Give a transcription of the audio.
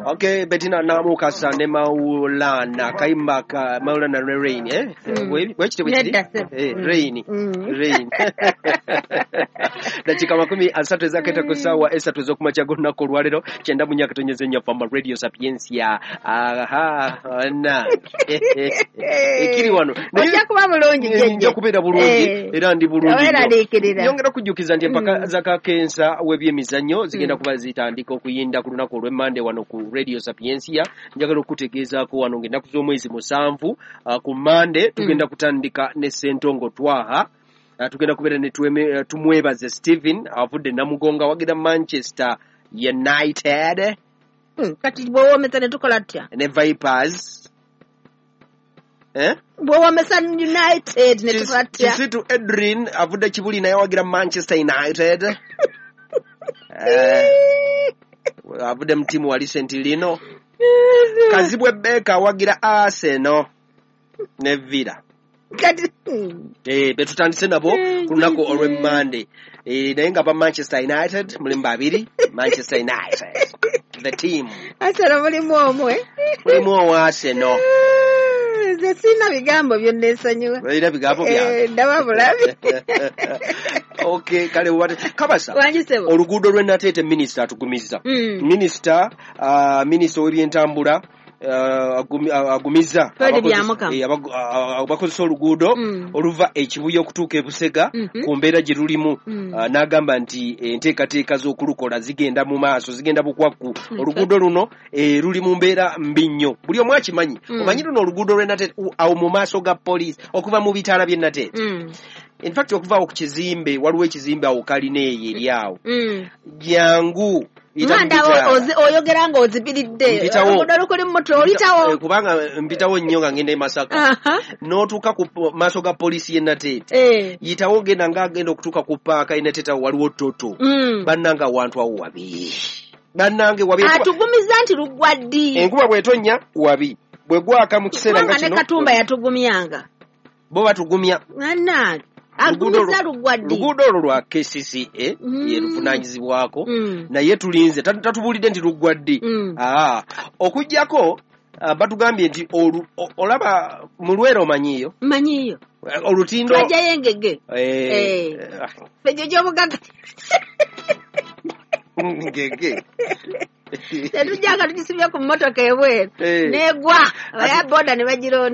Okay, Bettina Namukasa ne Maulana kayimba ka Maulana ne Rain, eh? Bwekityo bwe kiri? Nedda ssebo. Eh, Rain. Rain. Dakika 30 ezaketa ku ssaawa 3 ez'okumakya g'olunaku olwaleero 94.4 Famba Radio Sapientia. Aha, na. Ekiri wano. Naye Ojja kuba bulungi jjajja. Nja kubeera bulungi era ndi bulungi nnyo. Weeraliikirira. Nyongera okujjukiza nti empaka za kakensa w'ebyemizannyo zigenda kuba zitandika okuyinda ku lunaku olw'emmande wano ku Radio Sapientia. Njagala okutegeezaako wano ng'ennaku z'omwezi 7 ku Mmande tugenda kutandika ne Ssentongo Twaha. Tugenda kubeera ne Tumwebaze Steven avudde Namugongo awagira Manchester United. Kati bw'owoomesa ne tukola tutya? Ne Vipers. Eh? Bw'owoomesa United ne tukola tutya? Kisitu Edrin avudde Kibuli naye awagira Manchester United. Avudde mu ttiimu wali St. Lino. Kazibwe Beka awagira Arsenal ne Villa. Kati Betutandise nabo ku lunaku olw'Emmande. Naye nga ba Manchester United mulimu babiri, Manchester United the team. Arsenal mulimu omu, eh? Mulimu owa Arsenal. Nze sirina bigambo byonneesonyiwa. Olina bigambo byange. Ndaba bulabi. Okay, kale Kabasa. Wangi ssebo. Oluguudo lw'e Nateete minisita atugumizza. Minisita w'ebyentambula agumizza Fred Byamukama. Abakozesa oluguudo oluva e Kibuye okutuuka e Busega ku mbeera gye lulimu. N'agamba nti enteekateeka z'okulukola zigenda mu maaso, zigenda bukwakku. Oluguudo luno luli mu mbeera mbi nnyo, buli omu akimanyi. Omanyi luno oluguudo lw'e Nateete awo mu maaso ga poliisi okuva mu bitaala by'e Nateete. In fact okuva awo ku kizimbe, waliwo ekizimbe awo kalina eyo eri awo. Jangu Nganda oyogera ng'ozibiridde. Mpitawo. Oluguudo lukuli mu mutwe oyitawo. Kubanga mpitawo nnyo nga ngenda e Masaka. N'otuuka ku maaso ga poliisi y'e Nateete. Yitawo genda ng'agenda okutuuka ku paaka y'e Nateete awo waliwo Toto. Bannange awantu awo wabi. Bannange wabi. Atugumiza nti luggwa ddi? Enkuba bw'etonnya wabi. Bwe gwaka mu kiseera nga Kubanga ne kino. Katumba yatugumyanga. Bo batugumya. Bannange. Agumiza luggwa ddi? Luguudo olwo lwa KCCA ye luvunaanyizibwako. Naye tulinze tatubuulidde nti luggwa ddi. Okuggyako batugambye nti olaba mu Lwera omanyiiyo? Mmanyiiyo. Olutindo. Twajjayo engege. Ffe gye gy'obugagga. Ngege. Tetujjanga tugisibye ku mmotoka ebweru. N'egwa. Abaya boda ne bagironda.